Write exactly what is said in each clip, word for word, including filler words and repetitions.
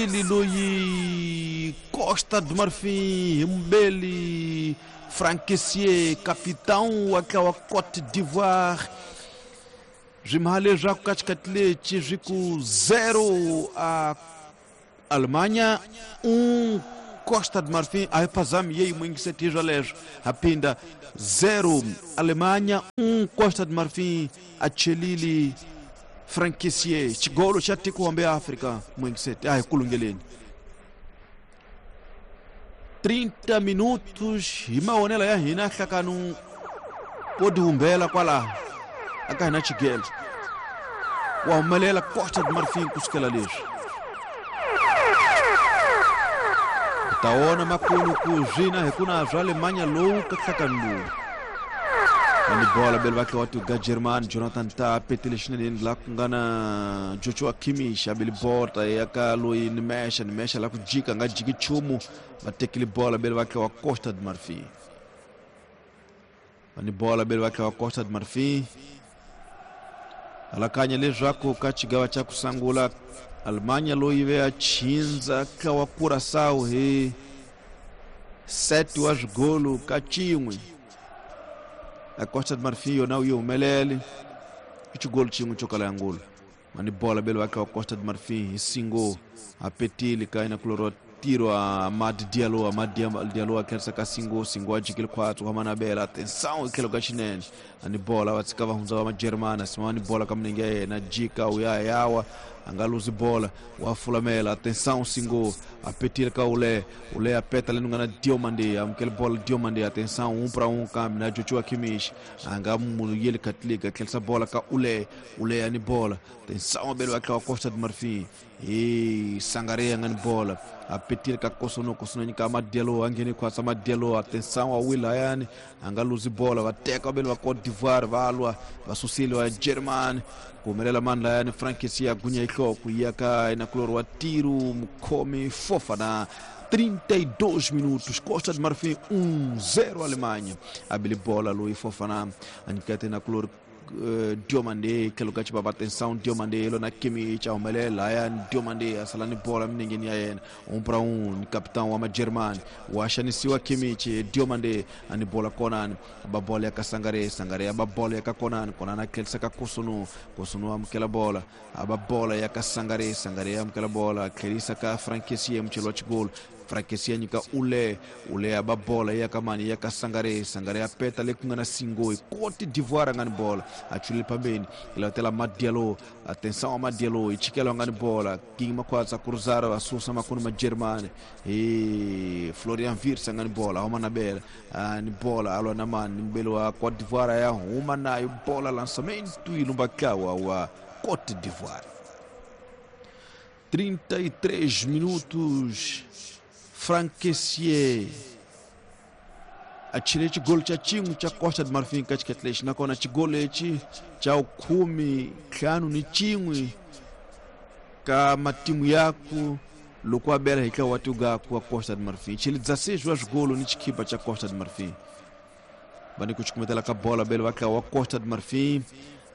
susile loyi Costa do Marfim Mbeli Franck Kessié capitão wa tlawa Côte d'Ivoire byi mha leswaku ka xikati lexi swi ku zero a Alemanha um Costa do Marfim a hi phazami yeyi muingiseti swoleswo ha phinda zero Alemanha um Costa do Marfim a chelili Franck Kessié xigolo xa tiko hambe Afrika muingiseti a hi kulungeleni trinta minutos hi mavonelo ya hina hlakanu wo tihumbela kwalaho aka hina xigelo wa humelela Costa do Marfim kusukela leswi ta wona makulu ku zwina hi kuna swa Alemanha lowu ka hlakanu lowu ani bola bele vakhe wa tuga German Jonathan Tah petile xinene la ku nga na Joshua Kimmich a bele bota ya ka loyi ni mesha ni mesha la ku jika nga jiki nchumu va tekile bola bele vakhe wa Costa do Marfim ani bola bele vakhe wa Costa do Marfim alakanya leswaku ka xigawa xa ku sungula Alemanha loyi ve a chinza ka wa Curaçao hi sete wa swigolo ka xin'we a Costa do Marfim yona yi humelele i xigolo xin'we xo kala ya ngolo mani bola bele vakhe wa Costa do Marfim hi singo a petile ka ina kuloro tiro a Amad Diallo Amad Diallo a tlherisa ka singo singo a jikile khwatsi wa manabela atenção tlhelo ka xinene ani bola va tshika va hundza va majeremani sima ni bola ka milenge ya yena jika u ya yawa a nga luzi bola wa fulamela atenção singo a petile ka ule ule a peta leni nga na Diomande amukele bola Diomande atenção um para um kambe na Joshua Kimmich a nga munhu yeli Katliga tlherisa bola ka ule ule ani bola atenção bele wa Costa do Marfim e Sangaré nga ni bola a petile ka Kosono Kosono nyika Amad Diallo a ngheni khwatsa Amad Diallo atenção a Willian a nga luzi bola va teka bele va Côte d'Ivoire va lwa va susile wa German ku humelela mani layani Franck Kessié a gunya nhloko yi ya ka ina kulori wa tiro mukhomi Fofana trinta e dois minutos Costa do Marfim um zero Alemanha a bele bola loyi Fofana a nyiketa ina kulori Uh, Diomande tlhelo ka xibaba atenção Diomande lona Kimmich a humelela layani Diomande a sala ni bola milengeni ya yena um para um ni capitão wa majeremani wa xanisiwa Kimmich Diomande a ni bola konani a ba bola ya ka Sangare Sangare a ba bola ya ka Konani Konani a tlherisa ka Kosono Kosono amukela bola a ba bola ya ka Sangare Sangare amukela bola a tlherisa ka Franck Kessié mucheli wa xigolo Franck Kessié nyika ule ule a ba bola ya ka mani ya ka Sangare Sangare a peta le ku nga na Singo Côte d'Ivoire a nga ni bola a chulile pambeni ilatela Amad Diallo atenção Amad Diallo i chikela nga ni bola king makhwatsa cruzar a susa makunu ma Germany e Florian Wirtz a nga ni bola huma na bela ni bola alwa na mani mbele wa Côte d'Ivoire ya huma nayo bola lançamento e lumbakawa wa Côte d'Ivoire trinta e três minutos Franck Kessié a chile xigolo xa xin'we xa Costa do Marfim ka xiketi lexi nakona xigolo lexi xa khume ntlhanu ni xin'we ka matimu yaku loko a bela hi tlawa wa tigaku wa Costa do Marfim chile dezesseis wa swigolo ni xikhipa xa Costa do Marfim va ni ku cukumetela ka bola bele va tlawa wa Costa do Marfim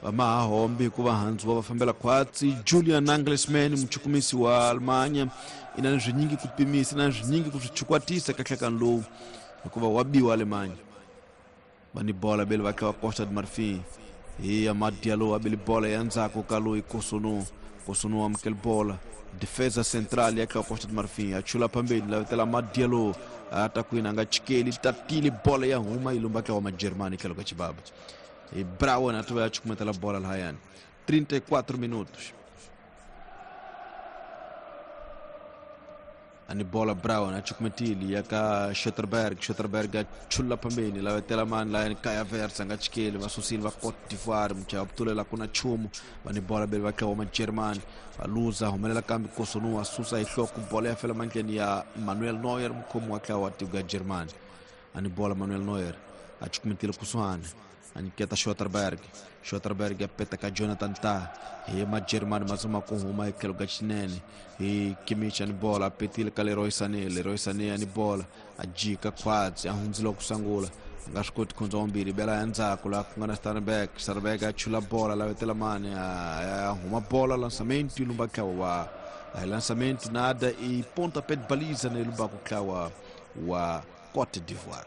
va maha hombi hikuva handzu va va fambela khwatsi Julian Nagelsmann muchukumisi wa Alemanha i na swinyingi ku pimisa na swinyingi ku swi chukwatisa ka nhlakano lowu hikuva wa biwa Alemanha va ni bola bele va tlawa Costa do Marfim hi Amad Diallo a bele bola ya ndzhaku ka loyi Kosono Kosono amukela bola defesa central ya tlawa Costa do Marfim a chula phambeni lavetela Amad Diallo a ta kwini a nga chikeli tatile bola ya huma yi lumba tlawa majeremani tlhelo ka xibaba e Brown a tova ya chukumetela bola lahayani trinta e quatro minutos ani bola Brown a chukumetile ya ka Schotterberg Schotterberg a chula phambeni lavetela mani layani Kai Havertz a nga chikeli va susile va Côte d'Ivoire muchaya va ku na nchumu va ni bola bele va tlawa majeremani va luza humelela kambe Kosono a susa hi nhloko bola ya fela mandleni ya Manuel Neuer mukhomi wa tlawa wa tiko ya Germany ani bola Manuel Neuer a chukumetile kusuhani a nyiketa Schotterberg Schotterberg a peta ka Jonathan Tah hi majeremani ma zama ku huma hi tlhelo ka xinene hi Kimmich a ni bola a petile ka Leroy Sané Leroy Sané a ni bola a jika khwatsi a hundzile ku sungula a nga swi koti ku hundza wambirhi bela ya ndzhaku laha ku nga na Starnberg Starnberg a chula bola lavetela mani a huma bola lançamento yi lumba tlhawa wa Lançamento nada e pontapé de baliza no lubaku kawa wa Côte d'Ivoire.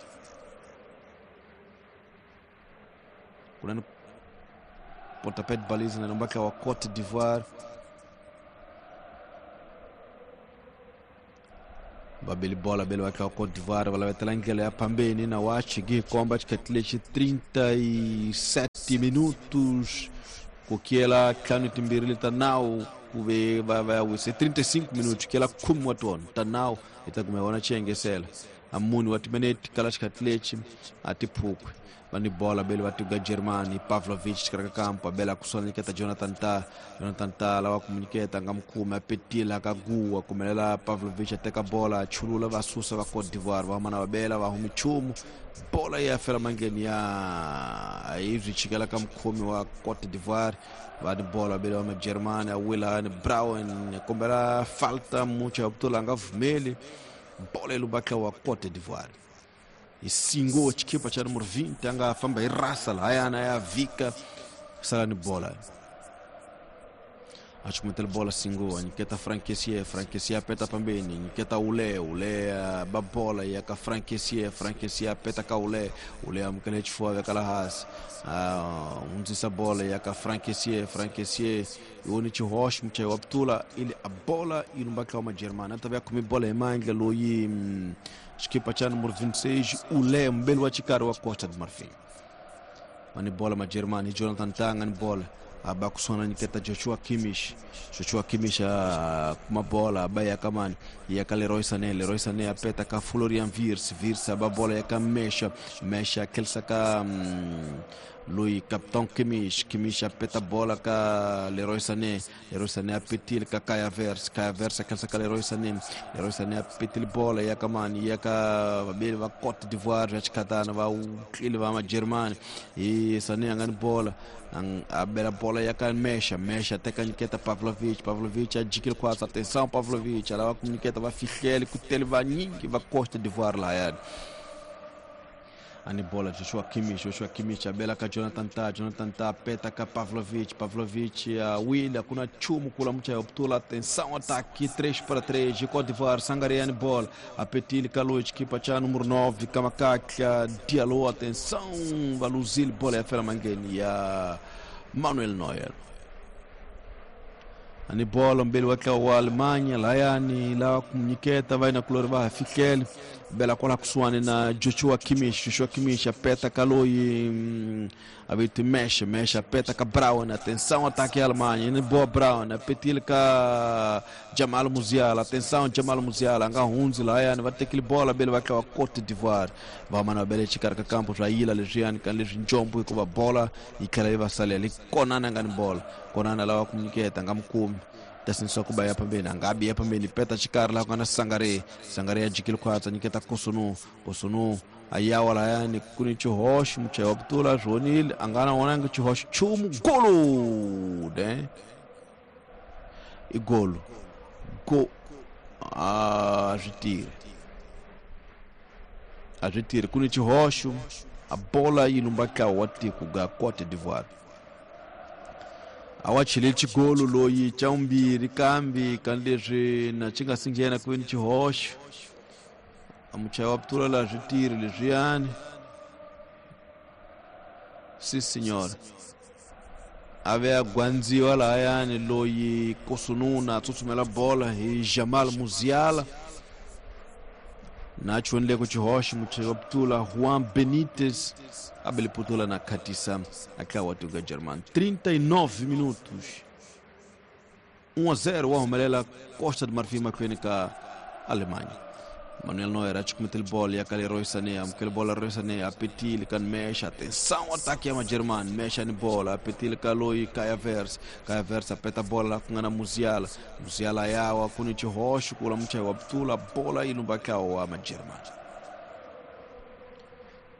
Kunani pontapé de baliza na lubaku wa Côte d'Ivoire. Babeli bola bele wa Côte d'Ivoire wala wetalangela ya pambeni na wachi komba chikatile trinta e sete minutos kukiela kanu timbirili tanau kuve vai vai ser trinta e cinco minutos que ela como atuon tanau itakumeona chengesela amuni watimeneti kala chikatile atipukwe bani bola bele watuga Germani Pavlovic katika kampo bela kusona keta Jonathan Ta Jonathan Ta la wakuminiketa ngamkuma apetila kagua kumelela Pavlovic ateka bola chulula vasusa va Côte d'Ivoire vamana babela vahumichumu bola ya fela mangeni ya izwi chikala kamkumi wa Côte d'Ivoire vani bola bele wa Germani awila ni Brown kombela falta mucha optula ngavumeli bola ilubaka wa Côte d'Ivoire. E singo chikipa cha número vinte anga famba irasa la hayana ya vika sala ni bola achumetela bola singo niketa Frankesie Frankesie apeta pambeni niketa ule ule babola ya ka Frankesie Frankesie apeta ka ule ule amkele chifua kala has unzisa bola ya ka Frankesie Frankesie yoni chihosh mche waptula ile a bola ilumbaka wa Germana tabia kumi bola imanga loyi chikipa cha número vinte e seis ule mbele wa chikaro wa Costa de Marfim mani bola ma Germani Jonathan Tanga ni bola abakusona niketa Joshua Kimmich Joshua Kimmich kuma bola abaya kamani ya ka Leroy Sané Leroy Sané apeta ka Florian Wirtz Wirtz aba bola ya ka Mesha Mesha kelsa ka mm, Louis Capitão Kimmich Kimmich apeta bola ka Leroy Sané Leroy Sané apetil ka Kai Havertz Kai Havertz kelsa ka Leroy Sané Leroy Sané apetil bola ya kamani ya ka babeli va Côte d'Ivoire ya chikatana va ukili va ma Germany e Sané angani bola ang abela bola ya ka Mesha Mesha teka niketa Pavlovic Pavlovic ajikil quase atenção Pavlovic ala comuniketa va fichele kutele va nyingi va Côte d'Ivoire la ya ani bola Joshua Kimmich Joshua Kimmich abela ka Jonathan Ta Jonathan Ta peta ka Pavlovic Pavlovic a William kuna chumu kula mcha optula atenção ataque três para três de Côte d'Ivoire Sangaré ani bola apetil Kaloich kipa cha número nove Kamakaka Diallo atenção Baluzil bola ya fela mangeni ya Manuel Neuer ani bola mbele waka wa Alemanha layani la kumniketa vai na kulor va fikel bela kola kusuane na Joshua Kimmich Joshua Kimmich apeta Kaloi avete mexe mexe apeta ka Brown atenção ataque a Alemanha ni boa Brown apetil ka Jamal Musiala atenção Jamal Musiala anga hunzi layani va tekile bola bele waka wa Côte d'Ivoire va mana bele chikar ka campo raila lejian kan leji njombo ko ba bola ikala iba sale konana ngani bola konana la kumniketa ngamkumi tasinso kuba ya pambeni angabi ya pambeni peta chikar la kana Sangare Sangare ajikil kwatsa niketa Kosunu Kosunu ayawa la yani kuni chihosh mche optula jonil angana onanga chihosh chumu golu de igolo go a retire a retire kuni chihosh a bola ilumbaka wati kuga Côte d'Ivoire awachile chigolo loyi chaumbiri kambi kanlezwi na chinga singhena kwini chihoxo amuchaya wa ptula la switiri leswiyani si signora ave a gwandziwa lahayani loyi Kosununa a tsutsumela bola hi Jamal Musiala na chonle ku chihoxo muchaya wa ptula Juan Benítez abele putula na katisa akawa tuga German trinta e nove minutos um a zero wa humelela Costa de Marfim makwene ka Alemanha Manuel Neuer achukumetel bola ya kale Leroy Sané amkele bola Leroy Sané apetil kan mexa atenção ataque ya German mexa ni bola apetil kaloi Kai Havertz Kai Havertz apeta bola kungana Musiala Musiala yawa kuni chihoxo kula mcha wa ptula bola ilumbaka wa German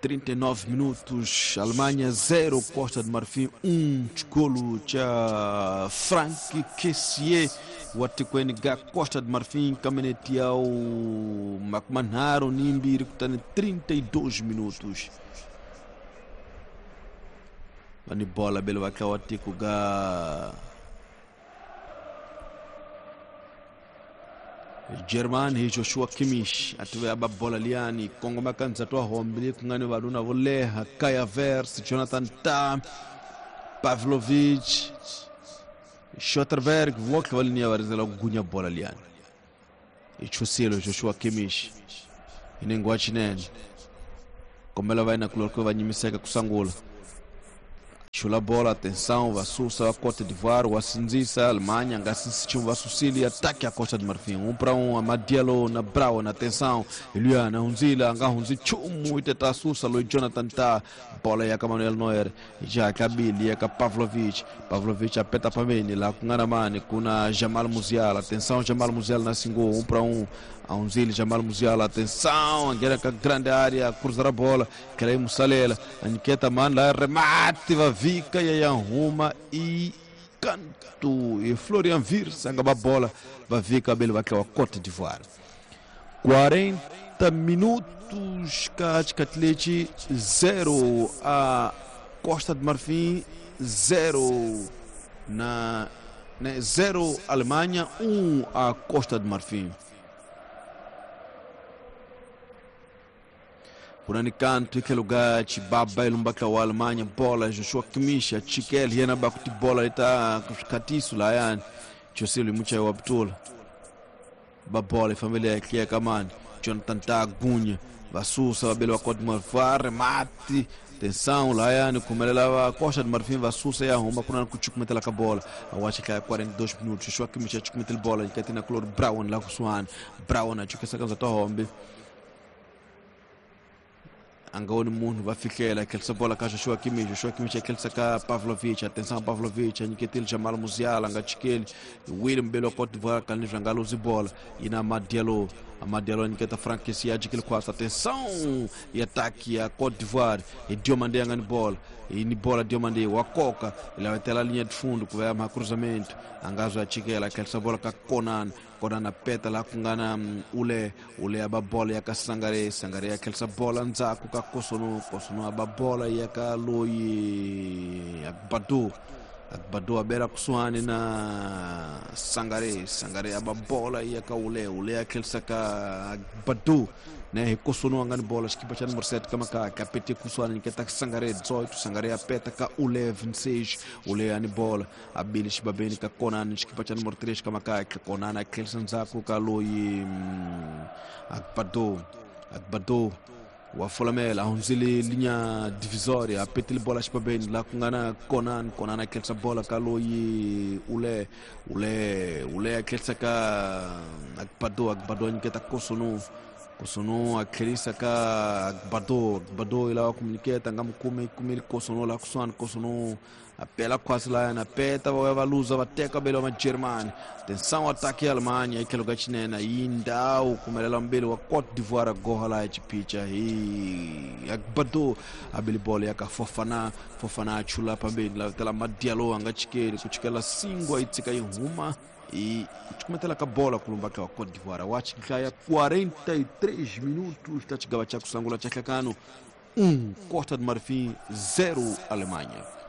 trinta e nove minutos, Alemanha zero, Costa de Marfim um, golo cha Frank Kessié, watikweni ga Costa de Marfim, caminhete ao Macmanharo, Nimbiri, kutani trinta e dois minutos. Vani bola belo waka watiku ga German hi Joshua Kimmich ative aba bola liani kongoma kanza twa hombili kungani vaduna vo leha Kai Havertz, Jonathan Tah, Pavlovic, Schotterberg votlhe va linia va rindzela ku gunya bola liani. I chusile Joshua Kimmich hi nenge wa xinene kombela va yena kuloriko va nyimiseka ku sungula. Chula bola, atenção, va susa a Cote d'Ivoire, wa sindzisa Alemanha, nga sindzisi nchumu, va susile ataque a Costa de Marfim. Um para um, Amad Diallo na Brown, atenção, Eliana hundzile, nga hundzi nchumu, iteta susa loyi Jonathan Tah, bola ya ka Manuel Neuer, ya ka Billy, ya ka Pavlovic, Pavlovic apeta pambeni la ku nga na mani, ku na Jamal Musiala, atenção, Jamal Musiala na singo, um para um, hundzile Jamal Musiala, atenção, nghena ka grande área, cruzar a bola, Kelly Musalela, a mani la remate, va vika ya ya huma i canto e Florian Wirtz a nga bola va vika bele va tlawa Cote d'Ivoire. quarenta minutos ka Tikatleti zero a Costa de Marfim zero na né, zero Alemanha, um a Costa de Marfim. Kunani canto ike lugar chibaba ilumbaka wa Alemanha bola Joshua Kimmich chikel yena bakuti bola ita katisu la yani chosili mucha wa ptula ba bola familia yake kamani Jonathan Tah gunya vasusa babele wa Cote d'Ivoire mati tensão lá yani kumelela wa Costa de Marfim vasusa ya homa kuna kuchukumetela ka bola awacha ka quarenta e dois minutos Joshua Kimmich chukumetela bola ikatina color Brown la kusuana Brown achukesa kanza tohombe angoni munhu va fihlela khelisa bola ka Joshua Kimmich, Joshua Kimmich khelisa ka Pavlovic, atenção Pavlovic anyiketile Jamal Musiala nga chikeli William Belo Cote d'Ivoire kanli nga luzi bola ina Amad Diallo, Amad Diallo anyiketa Franck Kessié ajikile kwasa, atenção e ataque ya Cote d'Ivoire e Diomandé nga ni bola e ni bola Diomandé wa koka ila wetela linha de fundo ku ya ma cruzamento angazo achikela khelisa bola ka Konan, Konan apeta la kungana ule ule aba bola ya ka Sangare, Sangare ya khelisa bola ndzhaku ka Kosono, Kosono aba bola ya ka loyi Agbadou, Agbadou abela kusuhani na Sangare, Sangare aba bola ya ka ule ule ya khelisa ka Agbadou né hi Kosono anga ni bola xikipa xa número sete kama ka kapete kusuhani nyiketa Sangare dezoito, Sangare apeta ka ule vinte e seis, ule ani bola abili xibabeni ka Konan xikipa xa número três kama ka Konan a khelisa ndzhaku ka loyi Agbadou, Agbadou wa folamela hundzile linha divisória apetile bola xibabeni la ku nga na Konan, Konan a khelisa bola ka loyi ule ule ule a khelisa ka Agbadou, Agbadou a nyiketa Kosono, Kosono a khelisa ka Agbadou, Agbadou ila wa kumunyiketa nga mukumi kumili Kosono la kusuhani Kosono apela quase lá na peta va va luza va teka belo ma Germany, atenção ataque ya Alemanha ikelo ga chinena indau kumelela mbele wa Cote d'Ivoire goha la chipicha hi Agbadou abili bola ya ka Fofana, Fofana chula pambeni la tela Madialo anga chikeli kuchikela singwa itsika ihuma e kuchukumetela ka bola kulumba ka Cote d'Ivoire wachikaya quarenta e três minutos ta chigava cha kusangula cha hlakano um Costa de Marfim zero Alemanha.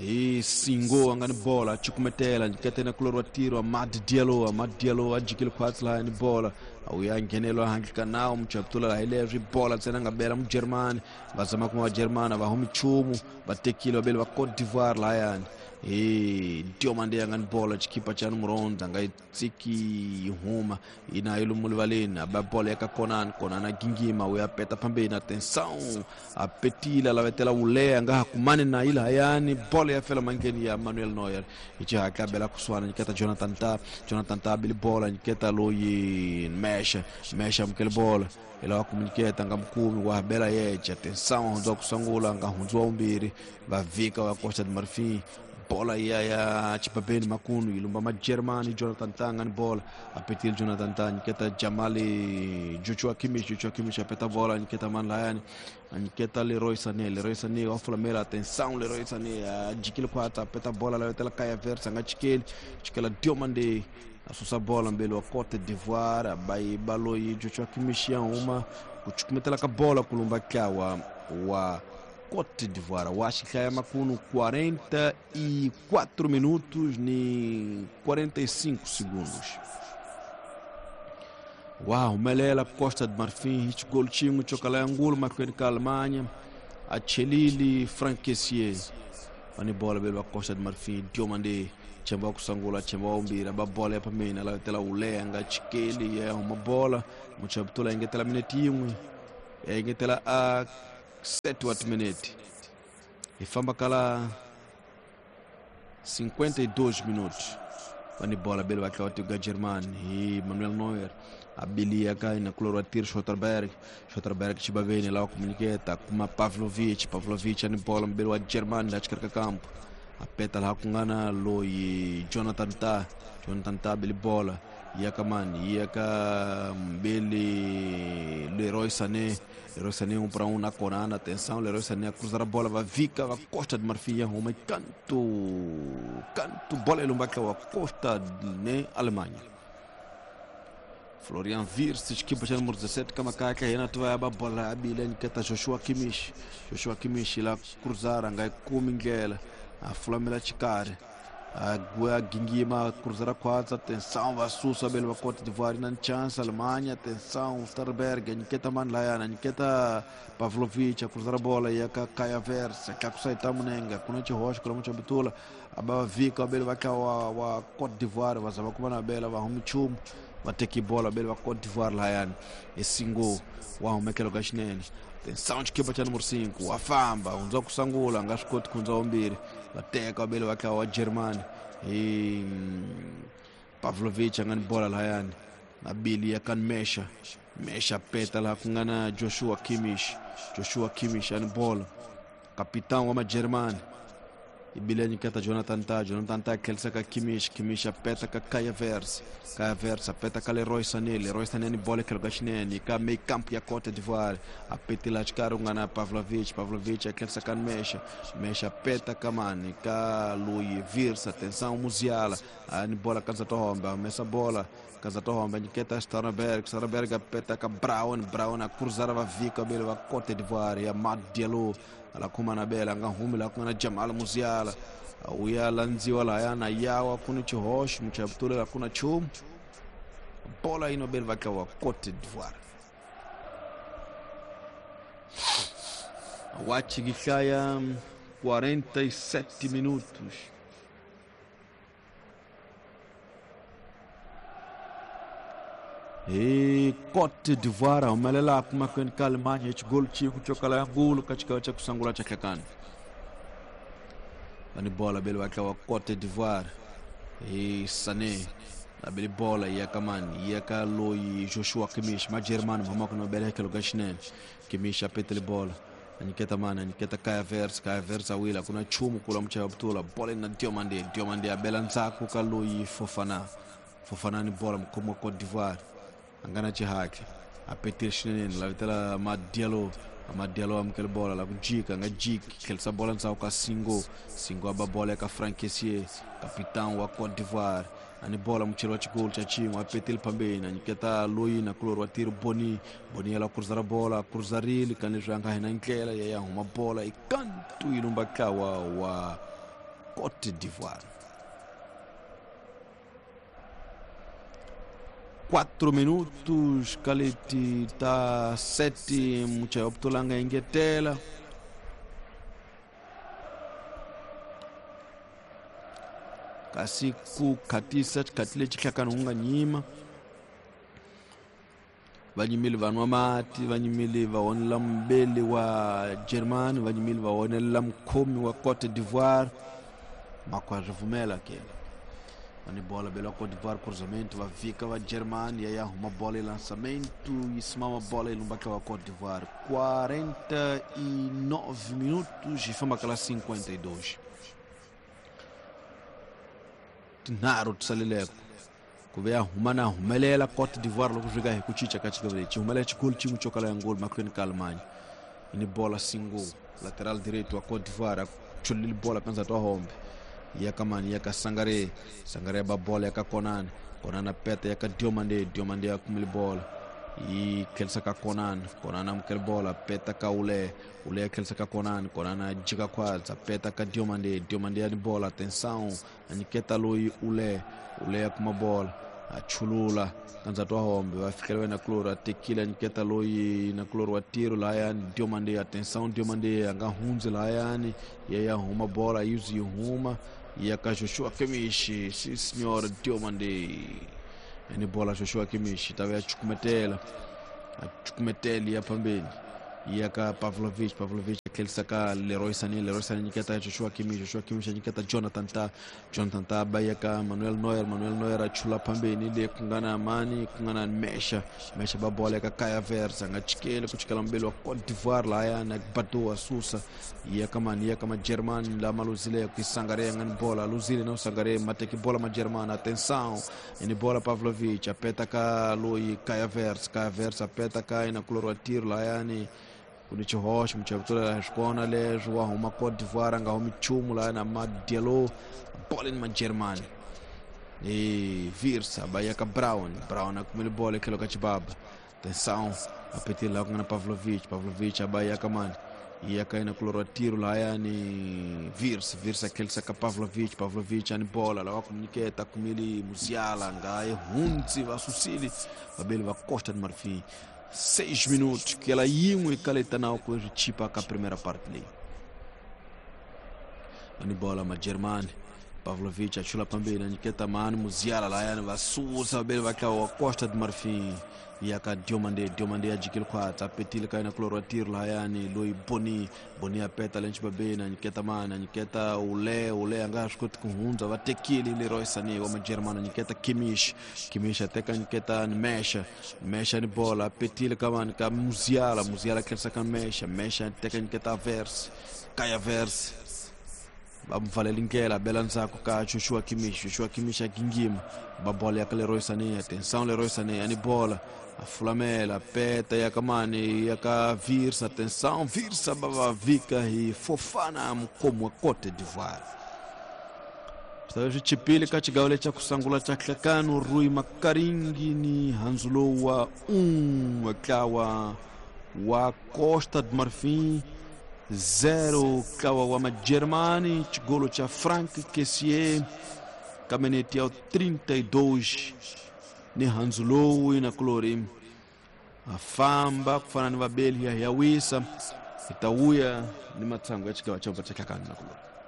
E singo anga ni bola chukumetela nyiketena kulorwa tiro Amad Diallo, Amad Diallo ajikile khwatsi la ni bola awuya nghenelo handle ka nawu muchaptula la hileswi bola ntsena nga bela mujermani va zama kuma vajermani va humi nchumu va tekile va bele va Cote d'Ivoire layani e Diomandé anga ni bola xikipa xa número onze anga yi tsiki huma ina yi lomu rivaleni aba bola ya ka Konan, Konan a gingima u ya peta pambeni atenção apetile lavetela ule anga ha kumani na yi lahayani bola ya fela mangeni ya Manuel Neuer ichihatla bela kusuhana nyiketa Jonathan Tah, Jonathan Tah bili bola nyiketa loyi Mesha, Mesha amukele bola ila wa kumunyiketa nga mukumi wa bela yeche atenção hundziwa kusungula nga hundziwa umbirhi va vika va Costa de Marfim bola ya ya chipapeni makunu ilumba ma Germany Jonathan Tah nga ni bola apetile Jonathan Tah nyiketa Jamali Joshua Kimmich, Joshua Kimmich apeta bola nyiketa man layani anyiketa Leroy Sané, Leroy Sané wa fulamela atenção Leroy Sané ajikile kwata apeta bola la yotela Kai Havertz anga chikeli chikela Diomandé asusa bola mbele wa Cote d'Ivoire abai baloyi Joshua Kimmich ya uma kuchukumetela ka bola kulumba kawa wa Côte d'Ivoire. O Acho Macuno quarenta e quatro minutos e quarenta e cinco segundos. Uau, Melela, Costa de Marfim, gol tinho, chocalé angulo, macueno ka Alemanha, a Chelili, Franck Kessié. Pani bola bela Costa de Marfim, Diomande, chemba kusangula, chemba umbira, ba bola ya pamena, la tela ulenga, chikeli, ya uma bola, muchabutula ingetela minute yimwe, ya ingetela a sete oito minute. E famba kala cinquenta e dois minutos. Pani bola bela wa ga Germany e Manuel Neuer. Abilia kai na Cloroatir Schotterberg, Schotterberg chibavene lá comuniqueta kuma Pavlovic, Pavlovic ani bola mbele wa Germany la chikarka campo. Apeta lá kungana loi Jonathan Ta, Jonathan Ta bele bola yakamani yaka mbele Leroy Sané, Leroy Sané um para um na Corana, atenção, Leroy Sané a cruzar a bola, vai Vica, vai Costa de Marfim, Roma e canto, canto, bola elumba wa Costa de Alemanha. Florian Wirtz, equipa de número dezessete, Kamakaca, Renato vai a bola, a Niketa Joshua Kimmich, Joshua Kimmich lá cruzar, angai Kumingela, a Flamela Chicare, a Guia Gingima cruzar a quadra, atenção, Vassussa, Bela Cote d'Ivoire, na chance, Alemanha, atenção, Starberg, Niketa Manlayana, Niketa Pavlovic, a cruzar a bola, e a Kaya Versa, Kakusai Tamunenga, Kunete Rocha, Kulamucha Bitula, a Baba Vika, a Bela a Cote d'Ivoire, Vazabakumana Bela, Vahumichum. Bateki bola bele wa Côte d'Ivoire lá esse gol wa umekelo gashinene atenção de equipa número cinco afamba unza kusangula ngasikoti kunza ombiri bateka bele wa wa Germany e Pavlovic angani bola lá na Bili ya kan mesha mesha peta lá kungana Joshua Kimmich, Joshua Kimmich ani bola capitão wa Germany Ibilani kata Jonathan Ta, Jonathan Ta kelsa ka Kimmich, Kimmich apeta ka Kaya Versa, Kaya Versa apeta ka Leroy Sané, Leroy Sané ni bola ke Gashinene, ka meio campo ya Cote d'Ivoire, apeta lá de Karungana Pavlovic, Pavlovic kelsa ka Mesha, Mesha apeta ka Mani, ka Louis Virsa, atenção Musiala, ani bola ka Zatohomba, messa bola Kazatohomba, Niketa Starnberg, Starnberg apeta ka Brown, Brown a cruzar va Vika bele va Cote d'Ivoire, ya Mad Diallo ala kuma na bela nga humila kuna Jamal Musiala uya lanziwa la yana yawa kuna chihosh mchabutule la kuna chum bola ino bel vaka wa Cote d'Ivoire wachi gikaya quarenta e sete minutos. E Cote d'Ivoire umelela kuma kwen Alemanha gol chiku chokala ngulu katika cha kusangula cha kakani ani bola bele wa Cote d'Ivoire e Sané na bele bola ya kamani ya ka loi Joshua Kimmich ma Germany mama kuna bele ke logashnen Kimmich apetele bola aniketa mana aniketa Kaya Versa, Kaya Versa wila kuna chumu kula mcha butula bola na Diomande, Diomande abela nzaku ka loi Fofana, Fofana ni bola mkomo Cote d'Ivoire angana chihake apetir shinene la vitela Madialo, Madialo amkel bola la kujika nga jiki kelsa bola nsa ka Singo, Singo aba bola ka Franck Kessié, capitão wa Cote d'Ivoire ani bola mchelo wa chigol cha chingo apetil pambeni aniketa Loi na kloro atiro Boni, Boni ala cruzar bola cruzarili kanizanga hina nkela ya ya huma bola ikantu ilumba kawa wa Cote d'Ivoire. Quatro minutos, Kaleti tá sete, mucha optolanga ingetela. Kasi ku katisa katile chikakanunga nyima. Vanyimili vanwa mati, vanyimili vaonela mbele wa Germany, vanyimili vaonela mkomi wa Cote d'Ivoire. Makwa revumela kele. Ani bola bela Cote d'Ivoire cruzamento va Vika va Germany ya uma bola e lançamento e simama bola e lumbaka wa Cote d'Ivoire quarenta e nove minutos e fama aquela cinquenta e dois. Tinaro tsalileko kuvea humana humelela Cote d'Ivoire logo jogar rekuchicha katika vile humelela chikulu chimu chokala ya ngol makwenu ka Alemanha ini bola singo lateral direito wa Cote d'Ivoire chulil bola kanza to hombe yakamani yaka Sangare, Sangare ba bola yaka Konan, Konan apeta yaka Diomande, Diomande akumili bola Yi khelisa ka Konan, Konan amukela bola, peta ka Ule, Ule khelisa ka Konan, Konan jika khwatsa, peta ka Diomande, Diomande ya ni bola, atenção, a nyiketa loyi Ule, Ule ya kuma bola, a chulula kanza twa hombe, va fikela na Kloro, a tekile a nyiketa loyi na Kloro wa tiro lahayani, Diomande, atenção, Diomande a nga hundzi lahayani, ya ya huma bola, yuzi yi huma, ya ka Joshua Kimmich, sim senhora, Diomande. Ni bola Joshua Kimmich tava ya chukumetela, a chukumetela ya phambeni ya ka Pavlovic, Pavlovic khelisa ka Leroy Sané, Leroy Sané nyiketa Joshua Kimmich, Joshua Kimmich nyiketa Jonathan Ta, Jonathan Ta ba ya ka Manuel Neuer, Manuel Neuer a chula phambeni le ku nga na mani, ku nga na Mesha, Mesha ba bola ka Kai Havertz, a nga chikeli ku chikela mbeli wa Cote d'Ivoire lahaya na Batoa Susa ya ka mani, ya ka Majerman lama luzile ku Sangare nga ni bola, luzile na Sangare mateki bola Majerman, atenção, ni bola Pavlovic a peta ka loyi Kai Havertz, Kai Havertz a peta ka ina kuloro tiro lahaya ni kuni xihoxo muchavutula swikona leswi wa huma Cote d'Ivoire a nga humi nchumu laha na Madialo bola ni Majermani e Virsa ba ya ka Brown, Brown a kumile bola etlhelo ka xibaba, atenção, a petile laha ku nga na Pavlovic, Pavlovic a ba ya ka mani, ya ka yena kuloro tiro lahaya ni Virsa, Virsa khelisa ka Pavlovic, Pavlovic a ni bola lava ku nyiketa kumile Musiala nga yi hundzi va susile vabeli va Costa de Marfim. Seis minutos que ela yin'we ka leta na ku ri chipa ka primeira parte leyi. Ani bola Majermani, Pavlovic a chula phambeni a nyiketa mani Musiala lahayani va susa vabeli va tlawa Costa de Marfim ya ka Diomande, Diomande a jikile khwatsa, a petile ka yena kuloro wa tiro lahayani loyi Boni, Boni a peta le nxibabeni a nyiketa mani, a nyiketa Ule, Ule a nga swi koti ku hundza, va tekile Leroy Sané wa Majermani a nyiketa Kimmich, Kimmich a teka nyiketa Mesha, Mesha ni bola a petile ka mani ka Musiala, Musiala tlherisa ka Mesha, Mesha a teka nyiketa Havertz, Kai Havertz va mu pfalela ndlela bela ndzhaku ka Joshua Kimmich, Joshua Kimmich a gingima ba bola ya ka Leroy Sané, atenção Leroy Sané ani bola a fulamela peta ya ka mani ya ka Virsa, atenção Virsa ba va vika hi Fofana mukhomi wa Cote d'Ivoire. Swi swi chipile ka xigawo lexi xa ku sungula xa nhlekano Rui Makaringi ni handzu wa un'we ntlawa wa Costa de Marfim zero ntlawa wa Majermani, xigolo xa Frank Kessié ka minete ya trinta e dois ni handzu lowu na kulori a famba ku fana ni vabeli ya ya wisa hi ta wuya ni matsangu ya xigawo xa xa nhlekano na kulori.